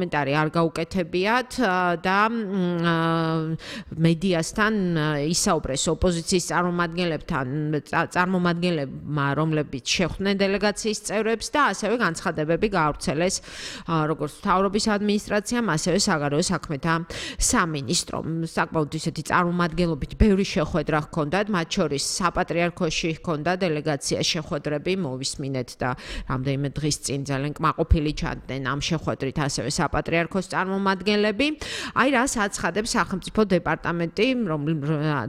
კომენტარი არ გაუკეთებიათ და მედიასთან ისაუბრეს ოპოზიციის წარმომადგენლებმა, რომლებიც შეხვდნენ დელეგაციის წევრებს და ასევე განცხადებები გაავრცელეს როგორც მთავრობის ადმინისტრაციამ, ასევე საგარეო საქმეთა სამინისტრომ. საკმაოდ ისეთი წარმომადგენლობით ბევრი შეხვედრა ჰქონდათ, მათ შორის საპატრიარქოში ჰქონდა დელეგაცია შეხვედრები, მოვისმინეთ და რამდენიმე დღის წინ ძალიან კმაყოფილი ჩანდნენ ამ შეხვედრით ასევე საპატრიარქოს წარმომადგენლები. აი რას აცხადებს სახელმწიფო დეპარტამენტი,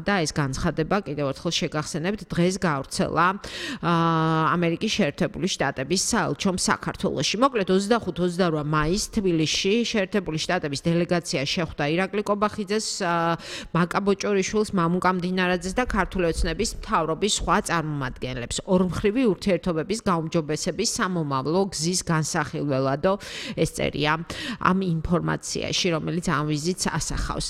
და ეს განცხადება კიდევ ერთხელ შეგახსენებთ, დღეს გაავრცელა ამერიკის შეერთებული შტატების საელჩომ საქართველოში. მოკლედ 25-28 მაისს თბილისში შეერთებული შტატების დელეგაცია შეხვდა ირაკლი კობახიძეს, მაკა ბოჭორიშვილს, მამუკა მდინარაძეს და ქართული ოცნების მთავრობის სხვა წარმომადგენლებს. ორმხრივი ურთიერთობების გაუმჯობესების სამომავლო გზის განსახილველადო ეს წერია ამ ინფორმაციაში, რომელიც ამ ვიზიტს ასახავს.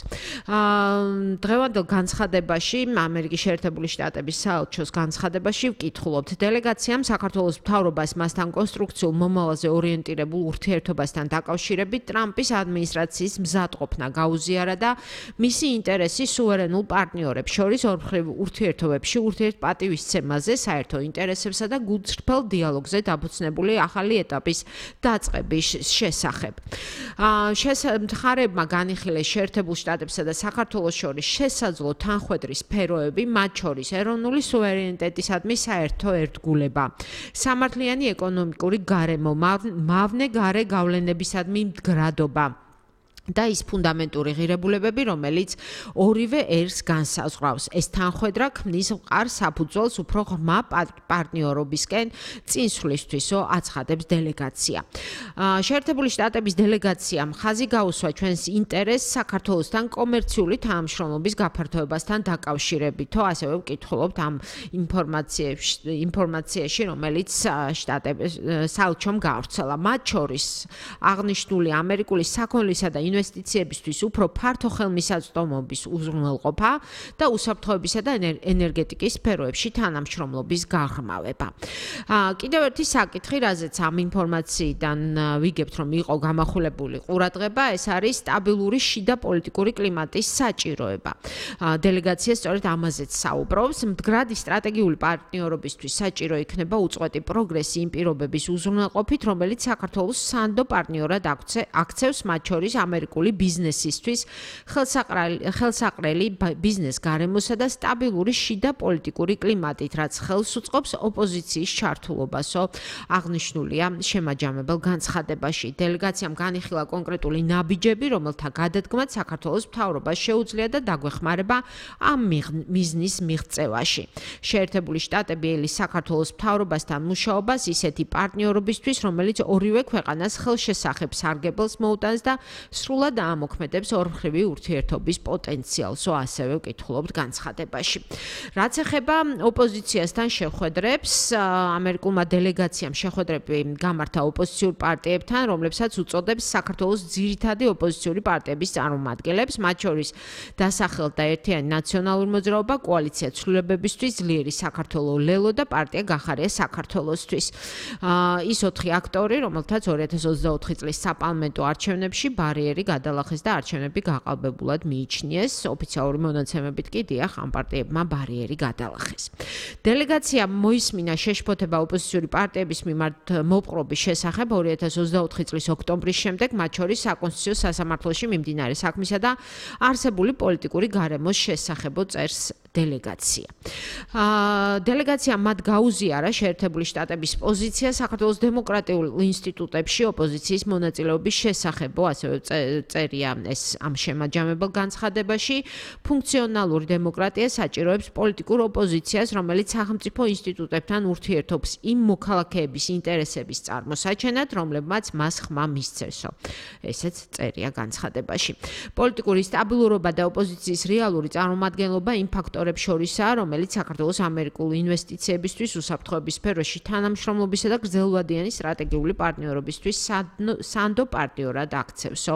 დღევანდელ განცხადებაში, ამერიკის შეერთებული შტატების საელჩოს განცხადებაში ვკითხულობთ, დელეგაციამ საქართველოს მთავრობას მასთან კონსტრუქციულ მომავალზე ორიენტირებულ ურთიერთობასთან დაკავშირებით ტრამპის ადმინისტრაციის მზადყოფნა გაუზიარა და მისი ინტერესი სუვერენულ პარტნიორებს შორის ორმხრივ ურთიერთობებში ურთიერთპატივისცემაზე, საერთო ინტერესებსა და გულწრფელ დიალოგზე დაფუძნებული ახალი ეტაპის დაწყების შესახებ. მხარეებმა განიხილეს შეერთებულ შტატებსა და საქართველოს შორის შესაძლო თანხვედრის სფეროები, მათ შორის ეროვნული სუვერენიტეტისადმი საერთო ერთგულება, სამართლიანი ეკონომიკური გარემო, მავნე გარე გავლენებისადმი მდგრადობა და ის ფუნდამენტური ღირებულებები, რომელიც ორივე ერს განსაზღვრავს. ეს თანხვედრა ქმნის მყარ საფუძველს უფრო ღრმა პარტნიორობისკენ წინსვლისთვისო აცხადებს დელეგაცია. შეერთებული შტატების დელეგაციამ ხაზი გაუსვა ჩვენს ინტერესს საქართველოსთან კომერციული თანამშრომლობის გაფართოებასთან დაკავშირებითო, ასევე ვკითხულობთ ამ ინფორმაციაში, რომელიც საელჩომ გაავრცელა. მათ შორის აღნიშნული ამერიკული საქონლისა და ინვესტიციებისთვის უფრო ფართო ხელმისაწვდომობის უზრუნველყოფა და უსაფრთხოებისა და ენერგეტიკის სფეროებში თანამშრომლობის გაღრმავება. კიდევ ერთი საკითხი, რაზეც ამ ინფორმაციიდან ვიგებთ, რომ იყო გამახვილებული ყურადღება, ეს არის სტაბილური შიდა პოლიტიკური კლიმატის საჭიროება. დელეგაცია სწორედ ამაზეც საუბრობს, მდგრადი სტრატეგიული პარტნიორობისთვის საჭირო იქნება უწყვეტი პროგრესი იმ პირობების უზრუნველყოფით, რომელიც საქართველოს სანდო პარტნიორად აქცევს, მათ შორის ამერიკული ბიზნესისთვის ხელსაყრელი ბიზნეს გარემოსა და სტაბილური შიდა პოლიტიკური კლიმატით, რაც ხელს უწყობს ოპოზიციის ჩართულობასო, აღნიშნულია შემაჯამებელ განცხადებაში. დელეგაციამ განიხილა კონკრეტული ნაბიჯები, რომელთა გადადგმაც საქართველოს მთავრობას შეუძლია და დაგვეხმარება ამ მიზნის მიღწევაში. შეერთებული შტატები ელის საქართველოს მთავრობასთან მუშაობას ისეთი პარტნიორობისთვის, რომელიც ორივე ქვეყანას ხელშესახებ სარგებელს მოუტანს და სრულად ამოქმედებს ორმხრივი ურთიერთობის პოტენციალსო, ასევე ვკითხულობთ განცხადებაში. რაც ეხება ოპოზიციასთან შეხვედრებს, ამერიკულმა დელეგაციამ შეხვედრები გამართა ოპოზიციურ პარტიებთან, რომლებსაც უწოდებს საქართველოს ძირითადი ოპოზიციური პარტიების წარმომადგენლებს, მათ შორის დასახელდა ერთიანი ნაციონალური მოძრაობა, კოალიცია ცვლილებებისთვის, ძლიერი საქართველო ლელო და პარტია გახარია საქართველოსთვის. ის 4 აქტორი, რომელთაც 2024 წლის საპარლამენტო არჩევნებში ბარიერი გადალახეს და არჩევნები გაყალბებულად მიიჩნიეს. ოფიციალური მონაცემებით კი დიახ, ამ პარტიებმა ბარიერი გადალახეს. დელეგაციამ მოისმინა შეშფოთება ოპოზიციური პარტიების მიმართ მოპყრობის შესახებ 2024 წლის ოქტომბრის შემდეგ, მათ შორის საკონსტიტუციო სასამართლოში მიმდინარე საქმისა და არსებული პოლიტიკური გარემოს შესახებო წერს დელეგაცია. დელეგაციამ მათ გაუზიარა შეერთებული შტატების პოზიცია საქართველოს დემოკრატიულ ინსტიტუტებში ოპოზიციის მონაწილეობის შესახებო, ასევე წერია ეს ამ შემაჯამებელ განცხადებაში. ფუნქციონალური დემოკრატია საჭიროებს პოლიტიკურ ოპოზიციას, რომელიც სახელმწიფო ინსტიტუტებთან ურთიერთობს იმ მოქალაქეების ინტერესების წარმოსაჩენად, რომლებმაც მას ხმა მისცესო. ესეც წერია განცხადებაში. პოლიტიკური სტაბილურობა და ოპოზიციის რეალური წარმომადგენლობა იმ ფაქტორებს შორისაა, რომელიც საქართველოს ამერიკულ ინვესტიციებისთვის, უსაფრთხოების სფეროში თანამშრომლობისა და გრძელვადიანი სტრატეგიული პარტნიორობისთვის სანდო პარტნიორად აქცევსო.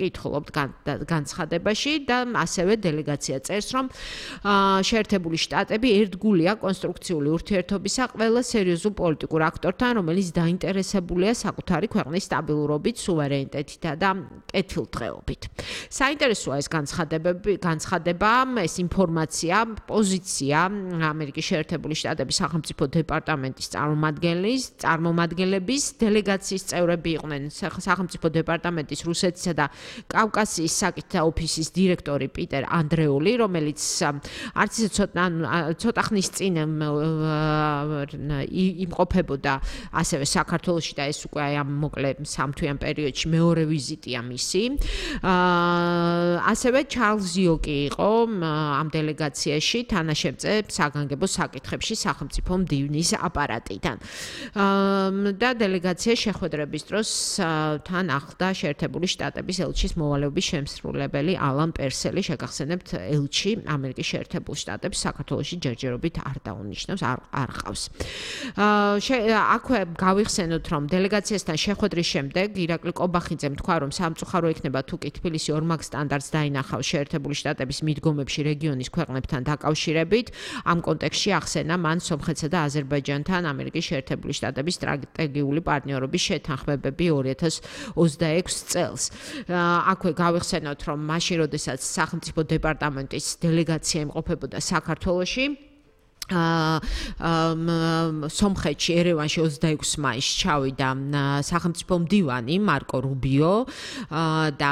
ვკითხულობთ განცხადებაში და ასევე დელეგაცია წერს, რომ შეერთებული შტატები ერთგულია კონსტრუქციული ურთიერთობისა ყველა სერიოზულ პოლიტიკურ აქტორთან, რომელიც დაინტერესებულია საკუთარი ქვეყნის სტაბილურობით, სუვერენიტეტითა და კეთილდღეობით. საინტერესოა ეს განცხადება, ეს ინფორმაცია, პოზიცია ამერიკის შეერთებული შტატების სახელმწიფო დეპარტამენტის წარმომადგენლების დელეგაციის წევრები იყვნენ სახელმწიფო დეპარტამენტის რუსეთისა და კავკასიის საკითხთა ოფისის დირექტორი პიტერ ანდრეული, რომელიც არც ისე ცოტა ხნის წინ იმყოფებოდა ასევე საქართველოში და ეს უკვე ამ მოკლე სამთვიან პერიოდში მეორე ვიზიტია მისი. ასევე ჩარლზ იოკი იყო ამ დელეგაციაში თანაშემწე საგანგებო საკითხებში სახელმწიფო მდივნის აპარატიდან. და დელეგაცია შეხვედრების დროს თან ახლდა შეერთებული შტატების ელჩის მოვალეობის შემსრულებელი ალან პერსელი, შეგახსენებთ ელჩი ამერიკის შეერთებულ შტატებს საქართველოში ჯერჯერობით არ დაუნიშნავს, არ ყავს. აქვე გავიხსენოთ, რომ დელეგაციასთან შეხვედრის შემდეგ ირაკლი კობახიძემ თქვა, რომ სამწუხარო იქნება თუ კი თბილისი ორმაგ სტანდარტს დაინახავს შეერთებული შტატების მიდგომებში რეგიონის ქვეყნებთან დაკავშირებით. ამ კონტექსტში ახსენა მან სომხეთსა და აზერბაიჯანთან ამერიკის შეერთებული შტატების სტრატეგიული პარტნიორობის შეთანხმებები 2026 წელს. აქვე გავიხსენოთ, რომ მაშინ, როდესაც სახელმწიფო დეპარტამენტის დელეგაცია იმყოფებოდა საქართველოში, სომხეთში ერევანში 26 მაისს ჩავიდა სახელმწიფო მდივანი მარკო რუბიო და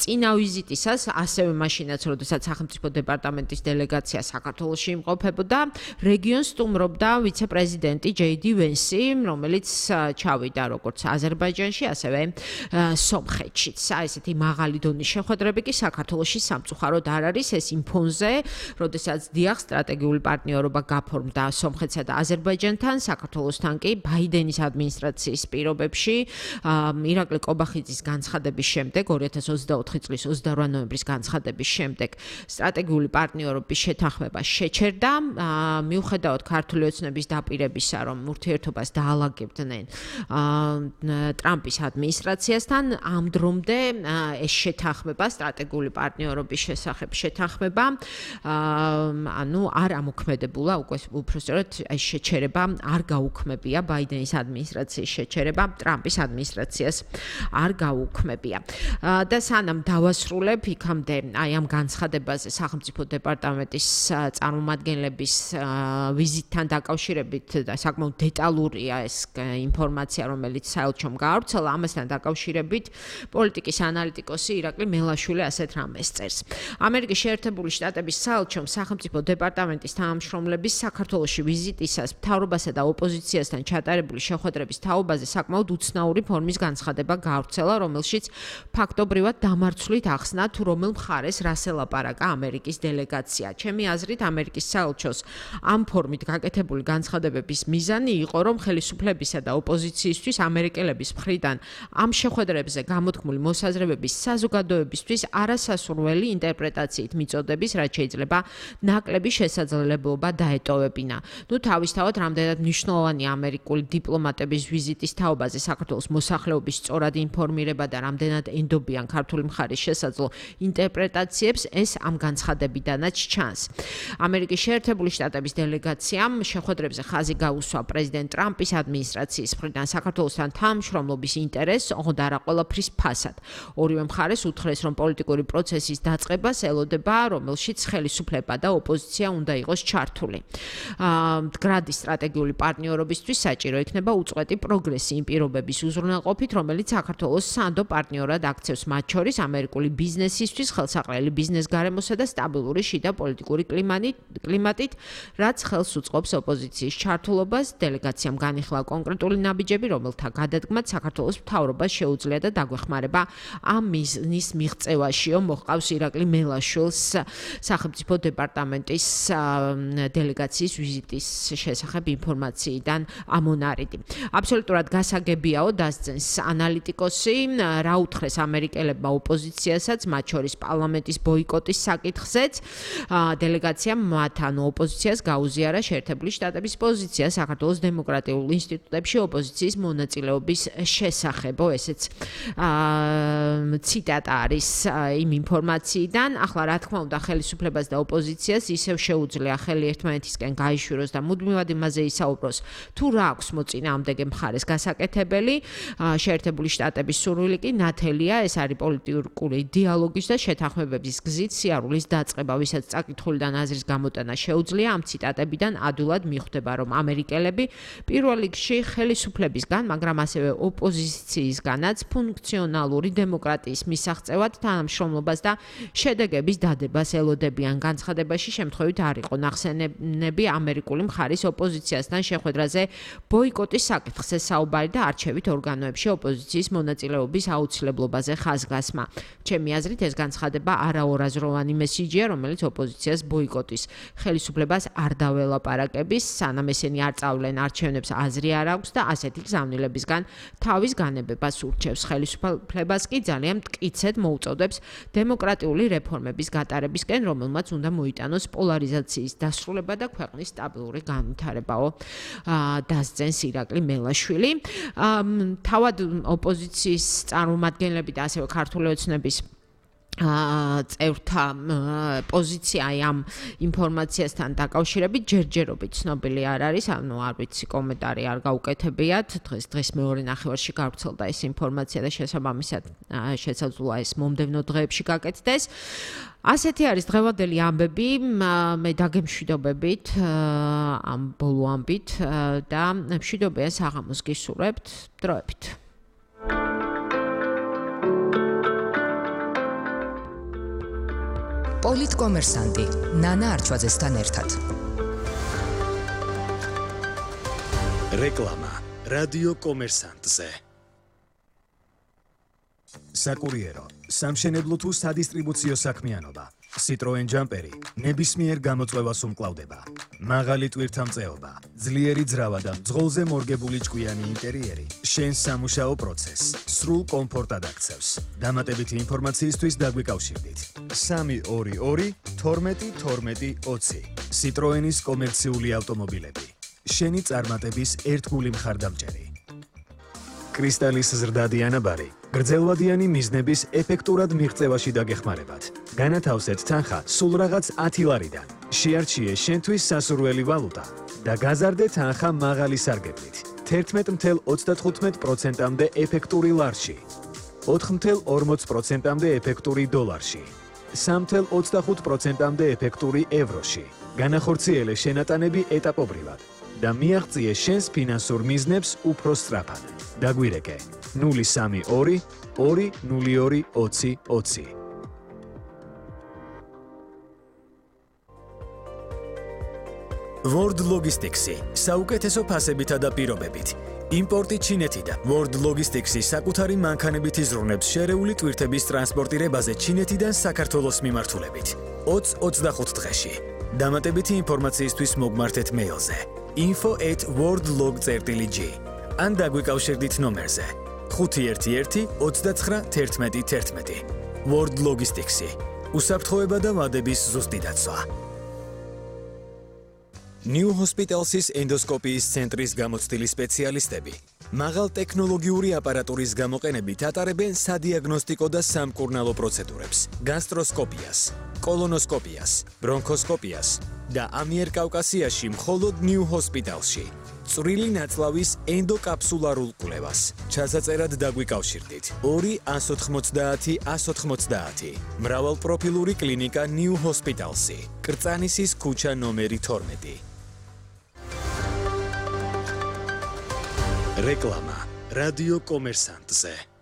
წინა ვიზიტისას ასევე მაშინაც, როდესაც სახელმწიფო დეპარტამენტის დელეგაცია საქართველოში იმყოფებოდა, რეგიონს სტუმრობდა ვიცე-პრეზიდენტი ჯეიდი ვენსი, რომელიც ჩავიდა როგორც აზერბაიჯანში, ასევე სომხეთშიც. ესეთი მაღალი დონის შეხვედრები კი საქართველოში სამწუხაროდ არ არის, ეს იმ ფონზე, როდესაც დიახ სტრატეგიული პარტნიორობა გაფორმდა სომხეთსა და აზერბაიჯანთან, საქართველოსთან კი ბაიდენის ადმინისტრაციის პირობებში ირაკლი კობახიძის განცხადების შემდეგ 2024 წლის 28 ნოემბრის განცხადების შემდეგ სტრატეგიული პარტნიორობის შეთანხმება შეჩერდა, მიუხედავად ქართული ოცნების დაპირებისა, რომ ურთიერთობას დაალაგებდნენ ტრამპის ადმინისტრაციასთან, ამ დრომდე ეს შეთანხმება სტრატეგიული პარტნიორობის შესახებ შეთანხმება არ ამოქმედებულა, უпростоრად ეს შეჩერება არ გაუქმებია, ბაიდენის ადმინისტრაციის შეჩერება ტრამპის ადმინისტრაციას არ გაუქმებია. და სანამ დავასრულებ იქამდე ამ განცხადებაზე სახელმწიფო დეპარტამენტის წარმომადგენლების ვიზიტთან დაკავშირებით და საკმაოდ დეტალურია ეს ინფორმაცია, რომელიც საელჩომ გაავრცელა, ამასთან დაკავშირებით პოლიტიკის ანალიტიკოსი ირაკლი მელაშვილი ასეთ რამეს წერს. ამერიკის შეერთებული შტატების საელჩომ სახელმწიფო დეპარტამენტის თანამშრომლების საქართველოში ვიზიტისას მთავრობასა და ოპოზიციასთან ჩატარებული შეხვედრების თაობაზე საკმაოდ უცნაური ფორმის განცხადება გაავრცელა, რომელშიც ფაქტობრივად დამარცვლით ახსნა, თუ რომელ მხარეს რას ელაპარაკა ამერიკის დელეგაცია. ჩემი აზრით, ამერიკის საელჩოს ამ ფორმით გაკეთებული განცხადებების მიზანი იყო, რომ ხელისუფლებისა და ოპოზიციისთვის ამერიკელების მხრიდან ამ შეხვედრებზე გამოთქმული მოსაზრებების საზოგადოებისთვის არასასურველი ინტერპრეტაციით მიწოდების, რაც შეიძლება ნაკლები შესაძლებლობა დაეტოვებინა. თავისთავად, რამდენად მნიშვნელოვანია ამერიკული დიპლომატების ვიზიტის თაობაზე საქართველოს მოსახლეობის სწორად ინფორმირება და რამდენად ენდობიან ქართული მხარის შესაძლო ინტერპრეტაციებს, ეს ამ განცხადებიდანაც ჩანს. ამერიკის შეერთებული შტატების დელეგაციამ შეხვედრებზე ხაზი გაუსვა პრეზიდენტ ტრამპის ადმინისტრაციის მხრიდან საქართველოსთან თანამშრომლობის ინტერესს, ოღონდ არა ყველაფრის ფასად. ორივე მხარეს უთხრეს, რომ პოლიტიკური პროცესის დაწყებას ელოდება, რომელშიც ხელისუფლება და ოპოზიცია უნდა იყოს ჩართული. მდგრადი სტრატეგიული პარტნიორობისთვის საჭირო იქნება უწყვეტი პროგრესი იმ პირობების უზრუნველყოფით, რომელიც საქართველოს სანდო პარტნიორად აქცევს, მათ შორის ამერიკული ბიზნესისთვის ხელსაყრელი ბიზნეს გარემოსა და სტაბილური შიდა პოლიტიკური კლიმატით, რაც ხელს უწყობს ოპოზიციის ჩართულობას. დელეგაციამ განიხილა კონკრეტული ნაბიჯები, რომელთა გადადგმად საქართველოს მთავრობას შეუძლია და დაგვეხმარება ამ მიზნის მიღწევაშიო, მოჰყავს ირაკლი მელაშვილს სახელმწიფო დეპარტამენტის დელეგაციის ვიზიტის შესახებ ინფორმაციიდან ამონარიდი. აბსოლუტურად გასაგებიაო, დასძენს ანალიტიკოსი, რა უთხრეს ამერიკელებმა ოპოზიციასაც, მათ შორის პარლამენტის ბოიკოტის საკითხზეც. დელეგაციამ მათ ოპოზიციას გაუზიარა შეერთებული შტატების პოზიცია საქართველოს დემოკრატიულ ინსტიტუტებში ოპოზიციის მონაწილეობის შესახებ. ესეც ციტატა არის იმ ინფორმაციიდან. ახლა რა თქმა უნდა, ხელისუფლებას და ოპოზიციას ისევ შეუძლია ხელი ერთმანეთისკენ გაიშვიროს და მუდმივად იმაზე ისაუბროს, თუ რა აქვს მოწინააღმდეგე მხარეს გასაკეთებელი. შეერთებული შტატების სურვილი კი ნათელია, ეს არის პოლიტიკური დიალოგის და შეთანხმებების გზით სიარულის დაწყება, ვისაც წაკითხული და აზრის გამოტანა შეუძლია. ამ ციტატებიდან ადვილად მიხვდება, რომ ამერიკელები პირველ რიგში ხელისუფლებისგან, მაგრამ ასევე ოპოზიციისგანაც ფუნქციონალური დემოკრატიის მისაღწევად თანამშრომლობას და შედეგების დადებას ელოდებიან. განცხადებაში შემთხვევით არ იყო ნახსენები ამერიკული მხარის ოპოზიციასთან შეხვედრაზე ბოიკოტის საკითხზე საუბარი და არჩევით ორგანოებში ოპოზიციის მონაწილეობის აუცილებლობაზე ხაზგასმა. ჩემი აზრით, ეს განცხადება არაორაზროვანი მესიჯია, რომელიც ოპოზიციას ბოიკოტის ხელისუფლებას არ დაველაპარაკების, სანამ ესენი არ წავლენ არჩევნებს აზრი არ აქვს და ასეთი გზავნილებისგან თავის განებებას ურჩევს. ხელისუფლებას კი ძალიან მტკიცედ მოუწოდებს დემოკრატიული რეფორმების გატარებისკენ, რომელმაც უნდა მოიტანოს პოლარიზაციის დასრულება და ქვეყნის სტაბილური განვითარებაო, დასძენს ირაკლი მელაშვილი. თავად ოპოზიციის წარმომადგენლები და ასევე ქართული ოცნების წევრთა პოზიცია ამ ინფორმაციასთან დაკავშირებით ჯერჯერობით ცნობილი არ არის, არ ვიცი, კომენტარი არ გაუკეთებიათ. დღეს მეორე ნახევარში გავრცელდა ეს ინფორმაცია და შესაბამისად შესაძლოა ეს მომდევნო დღეებში გაკეთდეს. ასეთი არის დღევანდელი ამბები, მე დაგემშვიდობებით ამ ბოლო ამბით და მშვიდობიან საღამოს გისურვებთ, დროებით. პოლიტკომერსანტი ნანა არჩვაძესთან ერთად. რეკლამა რადიო კომერსანტზე. საკურიერო, სამშენებლო თუ სადისტრიბუციო საქმიანობა. Citroen Jumperi ნებისმიერ გამოწვევას უმკლავდება. მაღალი ტვირთამწეობა, ძლიერი ძრავა და მძღოლზე მორგებული ჭკვიანი ინტერიერი შენს სამუშაო პროცესს სრულ კომფორტად აქცევს. დამატებითი ინფორმაციისთვის დაგვიკავშირდით. 322 12 12 20 Citroenis კომერციული ავტომობილები. შენი წარმატების ერთგული მხარდამჭერი. კრისტალის ზრდადი ანაბარი გრძელვადიანი მიზნების ეფექტურად მიღწევაში დაგეხმარებათ. განათავსეთ თანხა სულ რაღაც 10 ლარიდან. შეარჩიე შენთვის სასურველი ვალუტა და გაზარდე თანხა მაღალი სარგებლით. 11.35%-მდე ეფექტური ლარში, 4.40%-მდე ეფექტური დოლარში, 3.25%-მდე ეფექტური ევროში. განახორციელე შენატანები ეტაპობრივად და მიაღწიე შენს ფინანსურ მიზნებს უფრო სწრაფად. დაგვირეკე 032 202 20 20. World Logistics-ი საუკეთესო ფასებითა და პირობებით. იმპორტი ჩინეთიდან. World Logistics-ი საკუთარი მანქანებით იზრუნებს შერეული ტვირთების ტრანსპორტირებაზე ჩინეთიდან საქართველოს მიმართულებით. 20-25 დღეში. დამატებითი ინფორმაციისთვის მოგმართეთ მეილზე info@worldlog.gr ან დაგვიკავშირდით ნომერზე 511 29 11 11. World Logistics-ი უსაფრთხოება და ვადების ზუსტი დაცვა. New Hospitals-ის ენდოსკოპიის ცენტრის გამოცდილი სპეციალისტები მაღალ ტექნოლოგიური აპარატურის გამოყენებით ატარებენ სადიაგნოსტიკო და სამკურნალო პროცედურებს, გასტროსკოპიას, კოლონოსკოპიას, ბრონქოსკოპიას და ამიერკავკასიაში მხოლოდ New Hospital-ში. წვრილი ნაწლავის ენდოკაპსულარულ კვლევას. ჩასაწერად დაგვიკავშირდით 2 190 190. მრავალპროფილური კლინიკა New Hospitals-ი. კრწანისის ქუჩა ნომერი 12. რეკლამა რადიო კომერსანტზე.